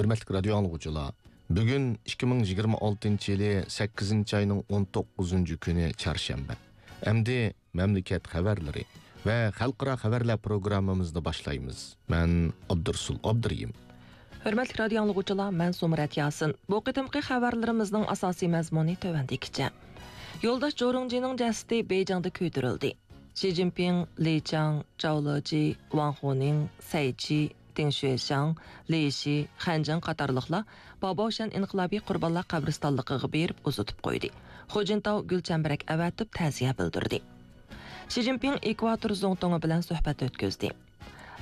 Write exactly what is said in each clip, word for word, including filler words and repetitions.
ھۆرمەتلىك رادىيو ئاڭلىغۇچىلار، بۈگۈن ئىككى مىڭ يىگىرمە ئالتىنچى يىلى سەككىزىنچى ئاينىڭ ئون توققۇزىنچى كۈنى، چارشەنبە. ئەمدى مەملىكەت خەۋەرلىرى ۋە خەلقئارا خەۋەرلەر پروگراممىمىزنى باشلايمىز. مەن ئابدۇرسۇل ئابدۇرېھىم. ھۆرمەتلىك رادىيو ئاڭلىغۇچىلار، مەن سۇمرەت ياسىن. بۇ قېتىمقى خەۋەرلىرىمىزنىڭ ئاساسىي مەزمۇنى تۆۋەندىكىچە. يولداش جورۇڭجىنىڭ جەسىتى بېيجىڭدا كۆيدۈرۈلدى. شى جىنپىڭ، لى چاڭ، جاۋ لېجى، ۋاڭ خۇنىڭ، سەي چى، دېڭ شۈەشياڭ، لى شى، خەنجىڭ قاتارلىقلار باباۋشەن ئىنقىلابىي قۇربانلار قەبرىستانلىقىغا بېرىپ ئۇزىتىپ قويدى. خۇجىنتاۋ گۈل چەمبىرەك ئەۋەتىپ تەزىيە بىلدۈردى. شى جىنپىڭ ئېكۋاتور زۇڭتۇڭى بىلەن سۆھبەت ئۆتكۈزدى.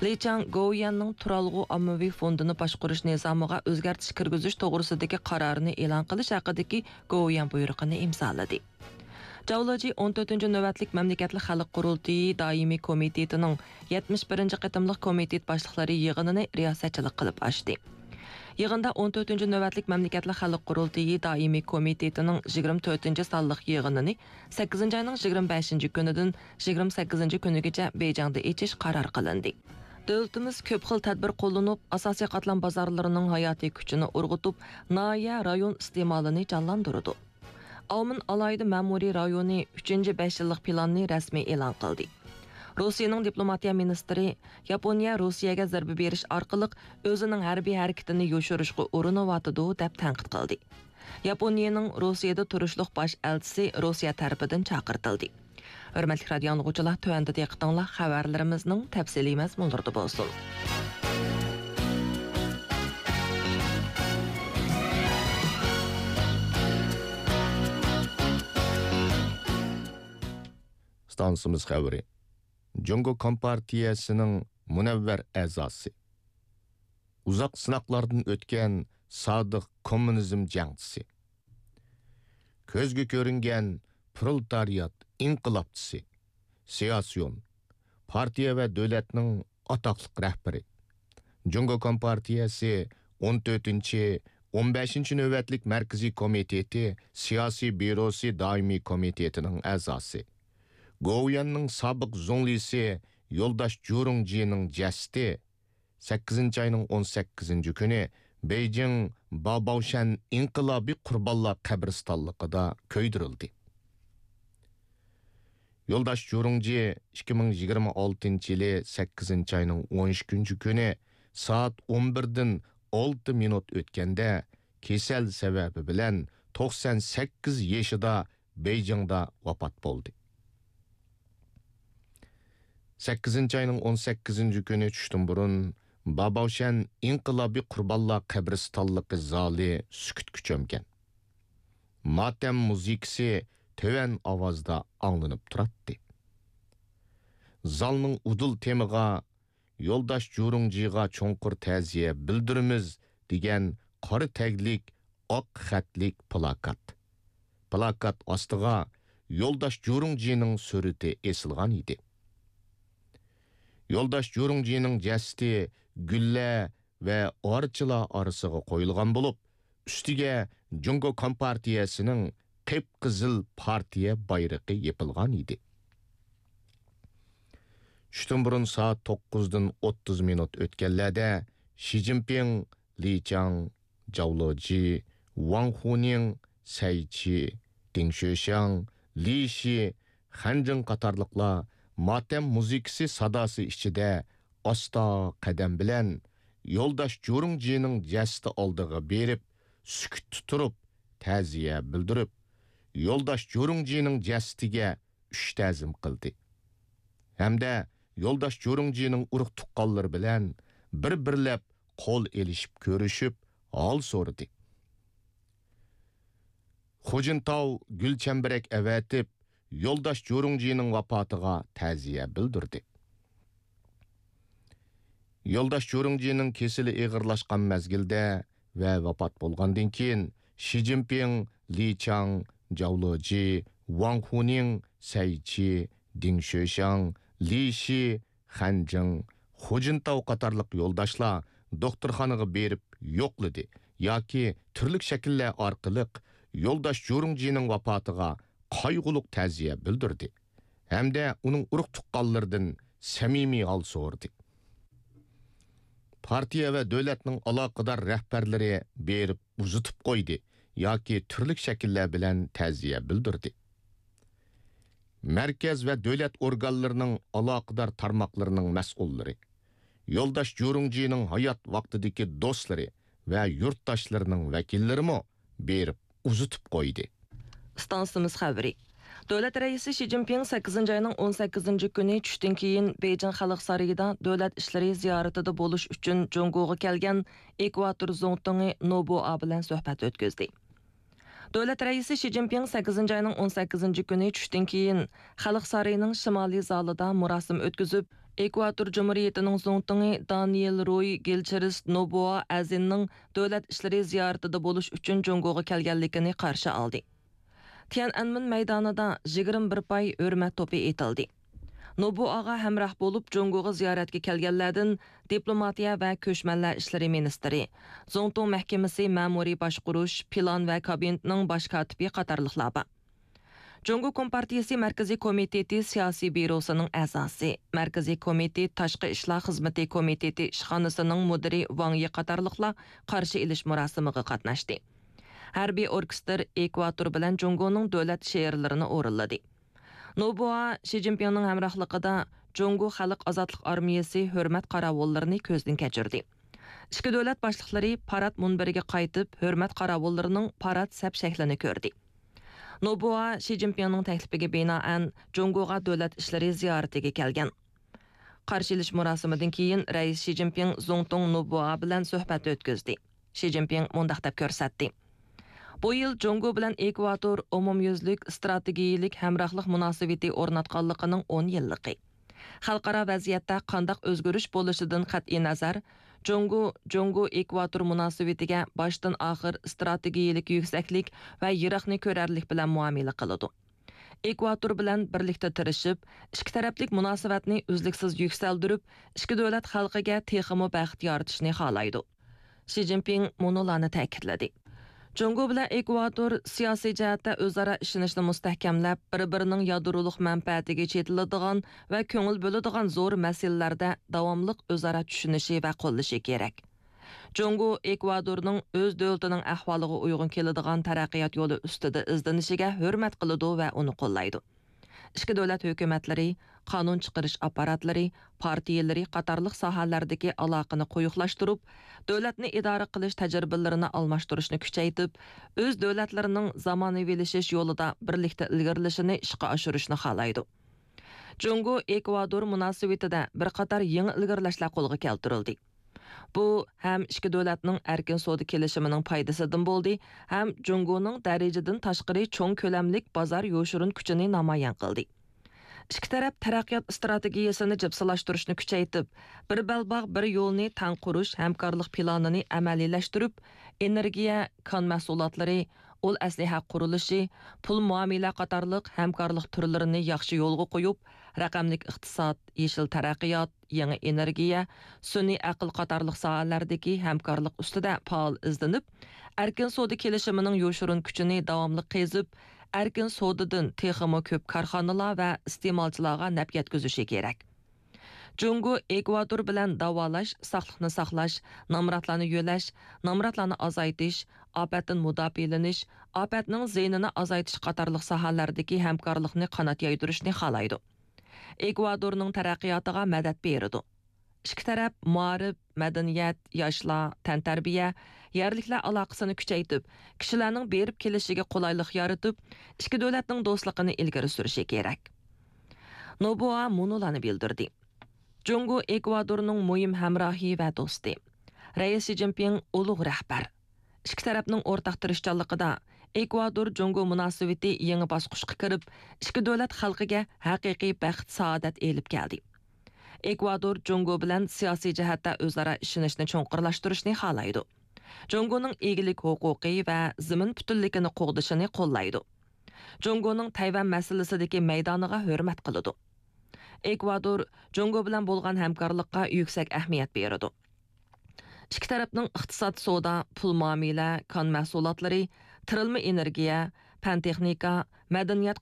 لى چاڭ گوۋۇيۈەننىڭ تۇرالغۇ ئاممىۋى فوندىنى باشقۇرۇش نىزامىغا ئۆزگەرتىش كىرگۈزۈش توغرىسىدىكى قارارنى ئېلان قىلىش ھەققىدىكى گوۋۇيۈەن بۇيرۇقىنى ئىمزالىدى. جاۋ لېجى ئون تۆتىنچى نۆۋەتلىك مەملىكەتلىك خەلق قۇرۇلتىيى دائىمىي كومىتېتىنىڭ يەتمىش بىرىنچى قېتىملىق كومىتېت باشلىقلىرى يىغىنىنى رىياسەتچىلىك قىلىپ ئاچتى. يىغىندا ئون تۆتىنچى نۆۋەتلىك مەملىكەتلىك خەلق قۇرۇلتىيى دائىمىي كومىتېتىنىڭ يىگىرمە تۆتىنچى سانلىق يىغىنىنى سەككىزىنچى ئاينىڭ يىگىرمە بەشىنچى كۈنىدىن يىگىرمە سەككىزىنچى كۈنىگىچە بېيجىڭدا ئېچىش قارار قىلىندى. دۆلىتىمىز كۆپ خىل تەدبىر قوللىنىپ، ئاساسىي قاتلام بازارلىرىنىڭ ھاياتىي كۈچىنى ئۇرغۇتۇپ، ناھىيە، رايون ئىستېمالىنى جانلاندۇرىدۇ. ئاۋمېن ئالاھىدە مەمۇرىي رايونى ئۈچىنچى بەش يىللىق پىلاننى رەسمىي ئېلان قىلدى. روسىيەنىڭ دىپلوماتىيە مىنىستىرى ياپونىيە روسىيەگە زەربە بېرىش ئارقىلىق ئۆزىنىڭ ھەربىي ھەرىكىتىنى يوشۇرۇشقا ئۇرۇنۇۋاتىدۇ، دەپ تەنقىد قىلدى. ياپونىيەنىڭ روسىيەدە تۇرۇشلۇق باش ئەلچىسى روسىيە تەرىپىدىن چاقىرتىلدى. ھۆرمەتلىك رادىيو ئاڭلىغۇچىلار، تۆۋەندە دىققىتىڭلار خەۋەرلىرىمىزنىڭ تەپسىلىي مەزمۇنلىرىدا بولسۇن. ئىستانسىمىز خەۋىرى. جۇڭگو كومپارتىيەسىنىڭ مۇنەۋۋەر ئەزاسى، ئۇزاق سىناقلاردىن ئۆتكەن سادىق كوممۇنىزم جەڭچىسى، كۆزگە كۆرۈنگەن پرولېتارىيات ئىنقىلابچىسى، سىياسىيون، پارتىيە ۋە دۆلەتنىڭ ئاتاقلىق رەھبىرى، جۇڭگو كومپارتىيەسى ئون تۆتىنچى، ئون بەشىنچى نۆۋەتلىك مەركىزىي كومىتېتى سىياسىي بيۇروسى دائىمىي كومىتېتىنىڭ ئەزاسى، گوۋۇيۈەننىڭ سابىق زۇڭلىسى يولداش جۇرۇڭجىنىڭ جەسىتى سەككىزىنچى ئاينىڭ ئون سەككىزىنچى كۈنى بېيجىڭ باباۋشەن ئىنقىلابىي قۇربانلار قەبرىستانلىقىدا كۆيدۈرۈلدى. يولداش جۇرۇڭجى ئىككى مىڭ يىگىرمە ئالتىنچى يىلى سەككىزىنچى ئاينىڭ ئون ئىككىنچى كۈنى سائەت ئون بىردىن ئالتە مىنۇت ئۆتكەندە، كېسەل سەۋەبى بىلەن توقسان سەككىز يېشىدا بېيجىڭدا ۋاپات بولدى. سەككىزىنچى ئاينىڭ ئون سەككىزىنچى كۈنى چۈشتىن بۇرۇن باباۋشەن ئىنقىلابىي قۇربانلار قەبرىستانلىقى زالى سۈكۈتكە چۆمگەن. ماتەم مۇزىكىسى تۆۋەن ئاۋازدا ئاڭلىنىپ تۇراتتى. زالنىڭ ئۇدۇل تېمىغا «يولداش جۇرۇڭجىغا چوڭقۇر تەزىيە بىلدۈرىمىز» دېگەن قارا تەگلىك ئاق خەتلىك پلاكات. پلاكات ئاستىغا يولداش جۇرۇڭجىنىڭ سۈرىتى ئېسىلغان ئىدى. يولداش جۇرۇڭجىنىڭ جەسىتى گۈللە ۋە ئارچىلار ئارىسىغا قويۇلغان بولۇپ، ئۈستىگە جۇڭگو كومپارتىيەسىنىڭ قىپقىزىل پارتىيە بايرىقى يېپىلغان ئىدى. چۈشتىن بۇرۇن سائەت توققۇزدىن ئوتتۇز مىنۇت ئۆتكەنلەردە شى جىنپىڭ، لى چاڭ، جاۋ لېجى، ۋاڭ خۇنىڭ، سەي چى، دىڭ شۆشياڭ، لى شى، خەنجىڭ قاتارلىقلار ماتەم مۇزىكىسى ساداسى ئىچىدە ئاستا قەدەم بىلەن يولداش جۇرۇڭجىنىڭ جەسىتى ئالدىغا بېرىپ، سۈكۈتتە تۇرۇپ، تەزىيە بىلدۈرۈپ، يولداش جۇرۇڭجىنىڭ جەسىتىگە ئۈچ تەزىم قىلدى ھەمدە يولداش جۇرۇڭجىنىڭ ئۇرۇق-تۇغقانلىرى بىلەن بىر-بىرلەپ قول ئېلىشىپ كۆرۈشۈپ، ھال سورىدى. خۇجىنتاۋ گۈل چەمبىرەك ئەۋەتىپ، يولداش جۇرۇڭجىنىڭ ۋاپاتىغا تەزىيە بىلدۈردى. يولداش جۇرۇڭجىنىڭ كېسىلى ئېغىرلاشقان مەزگىلدە ۋە ۋاپات بولغاندىن كېيىن، شى جىنپىڭ، لى چاڭ، جاۋ لېجى، ۋاڭ خۇنىڭ، سەي چى، دىڭ شۆشياڭ، لى شى، خەنجىڭ، خۇجىنتاۋ قاتارلىق يولداشلار دوختۇرخانىغا بېرىپ يوقلىدى ياكى تۈرلۈك شەكىللەر ئارقىلىق يولداش جۇرۇڭجىنىڭ ۋاپاتىغا قايغۇلۇق تەزىيە بىلدۈردى ھەمدە ئۇنىڭ ئۇرۇق-تۇغقانلىرىدىن سەمىمىي ھال سورىدى. پارتىيە ۋە دۆلەتنىڭ ئالاقىدار رەھبەرلىرى بېرىپ ئۇزىتىپ قويدى ياكى تۈرلۈك شەكىللەر بىلەن تەزىيە بىلدۈردى. مەركەز ۋە دۆلەت ئورگانلىرىنىڭ ئالاقىدار تارماقلىرىنىڭ مەسئۇللىرى، يولداش جۇرۇڭجىنىڭ ھايات ۋاقتىدىكى دوستلىرى ۋە يۇرتداشلىرىنىڭ ۋەكىللىرىمۇ بېرىپ ئۇزىتىپ قويدى. ئىستانسىمىز خەۋىرى. دۆلەت رەئىسى شى جىنپىڭ سەككىزىنچى ئاينىڭ ئون سەككىزىنچى كۈنى چۈشتىن كېيىن بېيجىڭ خەلق سارىيىدا دۆلەت ئىشلىرى زىيارىتىدە بولۇش ئۈچۈن جۇڭگوغا كەلگەن ئېكۋاتور زۇڭتۇڭى نوبۇئا بىلەن سۆھبەت ئۆتكۈزدى. دۆلەت رەئىسى شى جىنپىڭ سەككىزىنچى ئاينىڭ ئون سەككىزىنچى كۈنى چۈشتىن كېيىن خەلق سارىيىنىڭ شىمالىي زالىدا مۇراسىم ئۆتكۈزۈپ، ئېكۋاتور جۇمھۇرىيىتىنىڭ زۇڭتۇڭى دانىيېل روي گىلچىرىست نوبۇئا ئەزىننىڭ دۆلەت ئىشلىرى زىيارىتىدە بولۇش ئۈچۈن جۇڭگوغا كەلگەنلىكىنى قارشى ئالدى. تيەنئەنمېن مەيدانىدا يىگىرمە بىر پاي ھۆرمەت توپى ئېتىلدى. نوبۇئاغا ھەمراھ بولۇپ جۇڭگوغا زىيارەتكە كەلگەنلەردىن دىپلوماتىيە ۋە كۆچمەنلەر ئىشلىرى مىنىستىرى، زۇڭتۇڭ مەھكىمىسى مەمۇرىي باشقۇرۇش، پىلان ۋە كابىنېتنىڭ باش كاتىپى قاتارلىقلار بار. جۇڭگو كومپارتىيىسى مەركىزىي كومىتېتى سىياسىي بيۇروسىنىڭ ئەزاسى، مەركىزىي كومىتېت تاشقى ئىشلار خىزمىتى كومىتېتى ئىشخانىسىنىڭ مۇدىرى ۋاڭ يى قاتارلىقلار قارشى ئېلىش مۇراسىمىغا قاتناشتى. ھەربىي ئوركېستىر ئېكۋاتور بىلەن جۇڭگونىڭ دۆلەت شېئىرلىرىنى ئورۇنلىدى. نوبۇئا شى جىنپىڭنىڭ ھەمراھلىقىدا جۇڭگو خەلق ئازادلىق ئارمىيەسى ھۆرمەت قاراۋۇللىرىنى كۆزدىن كەچۈردى. ئىككى دۆلەت باشلىقلىرى پارات مۇنبىرىگە قايتىپ، ھۆرمەت قاراۋۇللىرىنىڭ پارات سەپ شەكلىنى كۆردى. نوبۇئا شى جىنپىڭنىڭ تەكلىپىگە بىنائەن جۇڭگوغا دۆلەت ئىشلىرى زىيارىتىگە كەلگەن. قارشى ئېلىش مۇراسىمىدىن كېيىن رەئىس شى جىنپىڭ زۇڭتۇڭ نوبۇئا بىلەن سۆھبەت ئۆتكۈزدى. شى جىنپىڭ مۇنداق دەپ كۆرسەتتى: بۇ يىل جۇڭگو بىلەن ئېكۋاتور ئومۇميۈزلۈك ئىستراتېگىيىلىك ھەمراھلىق مۇناسىۋىتى ئورناتقانلىقىنىڭ ئون يىللىقى. خەلقئارا ۋەزىيەتتە قانداق ئۆزگىرىش بولۇشىدىن قەتئىينەزەر، جۇڭگو، جۇڭگو ئېكۋاتور مۇناسىۋىتىگە باشتىن ئاخىر ئىستراتېگىيىلىك يۈكسەكلىك ۋە يىراقنى كۆرەرلىك بىلەن مۇئامىلە قىلىدۇ. ئېكۋاتور بىلەن بىرلىكتە تىرىشىپ، ئىككى تەرەپلىك مۇناسىۋەتنى ئۈزلۈكسىز يۈكسەلدۈرۈپ، ئىككى دۆلەت خەلقىگە تېخىمۇ بەخت يارىتىشنى خالايدۇ. شى جىنپىڭ مۇنۇلارنى تەكىتلىدى: جۇڭگو بىلەن ئېكۋاتور سىياسىي جەھەتتە ئۆزئارا ئىشىنىشنى مۇستەھكەملەپ، بىر-بىرىنىڭ يادرولۇق مەنپەئەتىگە چېتىلىدىغان ۋە كۆڭۈل بۆلىدىغان زور مەسىلىلەردە داۋاملىق ئۆزئارا چۈشىنىشى ۋە قوللىشى كېرەك. جۇڭگو ئېكۋادورنىڭ ئۆز دۆلىتىنىڭ ئەھۋالىغا ئۇيغۇن كېلىدىغان تەرەققىيات يولى ئۈستىدە ئىزدىنىشىگە ھۆرمەت قىلىدۇ ۋە ئۇنى قوللايدۇ. ئىككى دۆلەت ھۆكۈمەتلىرى، قانۇن چىقىرىش ئاپپاراتلىرى، پارتىيىلىرى قاتارلىق ساھەلەردىكى ئالاقىنى قويۇقلاشتۇرۇپ، دۆلەتنى ئىدارە قىلىش تەجرىبىلىرىنى ئالماشتۇرۇشنى كۈچەيتىپ، ئۆز دۆلەتلىرىنىڭ زامانىۋىلىشىش يولىدا بىرلىكتە ئىلگىرىلىشىنى ئىشقا ئاشۇرۇشنى خالايدۇ. جۇڭگو ئېكۋادور مۇناسىۋىتىدە بىر قاتار يېڭى ئىلگىرىلەشلەر قولغا كەلتۈرۈلدى. بۇ ھەم ئىككى دۆلەتنىڭ ئەركىن سودا كېلىشىمىنىڭ پايدىسىدىن بولدى، ھەم جۇڭگونىڭ دەرىجىدىن تاشقىرى چوڭ كۆلەملىك بازار يوشۇرۇن كۈچىنى نامايان قىلدى. ئىككى تەرەپ تەرەققىيات ئىستراتېگىيەسىنى جىپسىلاشتۇرۇشنى كۈچەيتىپ، بىر بەلباغ، بىر يولنى تەڭ قۇرۇش ھەمكارلىق پىلانىنى ئەمەلىيلەشتۈرۈپ، ئېنېرگىيە، كان مەھسۇلاتلىرى، ئۇل ئەسلىھە قۇرۇلۇشى، پۇل مۇئامىلە قاتارلىق ھەمكارلىق تۈرلىرىنى ياخشى يولغا قويۇپ، رەقەملىك ئىقتىساد، يېشىل تەرەققىيات، يېڭى ئېنېرگىيە، سۈنئىي ئەقىل قاتارلىق ساھەلەردىكى ھەمكارلىق ئۈستىدە پائال ئىزدىنىپ، ئەركىن سودا كېلىشىمىنىڭ يوشۇرۇن كۈچىنى داۋاملىق قېزىپ، ئەركىن سودىدىن تېخىمۇ كۆپ كارخانىلار ۋە ئىستېمالچىلارغا نەپ يەتكۈزۈشى كېرەك. جۇڭگو ئېكۋادور بىلەن داۋالاش، ساقلىقنى ساقلاش، نامراتلارنى يۆلەش، نامراتلارنى ئازايتىش، ئاپەتتىن مۇداپىئەلىنىش، ئاپەتنىڭ زىيىنىنى ئازايتىش قاتارلىق ساھەلەردىكى ھەمكارلىقنى قانات يايدۇرۇشنى خالايدۇ. ئېكۋادورنىڭ تەرەققىياتىغا مەدەت بېرىدۇ. ئىككى تەرەپ مائارىپ، مەدەنىيەت، ياشلار، تەنتەربىيە، يەرلىكلەر ئالاقىسىنى كۈچەيتىپ، كىشىلەرنىڭ بېرىپ كېلىشىگە قولايلىق يارىتىپ، ئىككى دۆلەتنىڭ دوستلۇقىنى ئىلگىرى سۈرۈشى كېرەك. نوبۇئا مۇنۇلارنى بىلدۈردى: جۇڭگو ئېكۋادورنىڭ مۇھىم ھەمراھى ۋە دوستى. رەئىس شى جىنپىڭ ئۇلۇغ رەھبەر. ئىككى تەرەپنىڭ ئورتاق تىرىشچانلىقىدا ئېكۋادور جۇڭگو مۇناسىۋىتى يېڭى باسقۇچقا كىرىپ، ئىككى دۆلەت خەلقىگە ھەقىقىي بەخت، سائادەت ئېلىپ كەلدى. ئېكۋادور جۇڭگو بىلەن سىياسىي جەھەتتە ئۆزئارا ئىشىنىشنى چوڭقۇرلاشتۇرۇشنى خالايدۇ. جۇڭگونىڭ ئىگىلىك ھوقۇقى ۋە زېمىن پۈتۈنلۈكىنى قوغدىشىنى قوللايدۇ. جۇڭگونىڭ تەيۋەن مەسىلىسىدىكى مەيدانىغا ھۆرمەت قىلىدۇ. ئېكۋادور جۇڭگو بىلەن بولغان ھەمكارلىققا يۈكسەك ئەھمىيەت بېرىدۇ. ئىككى تەرەپنىڭ ئىقتىساد، سودا، پۇل مۇئامىلە، كان مەھسۇلاتلىرى، تىرىلما ئېنېرگىيە، پەن تېخنىكا، مەدەنىيەت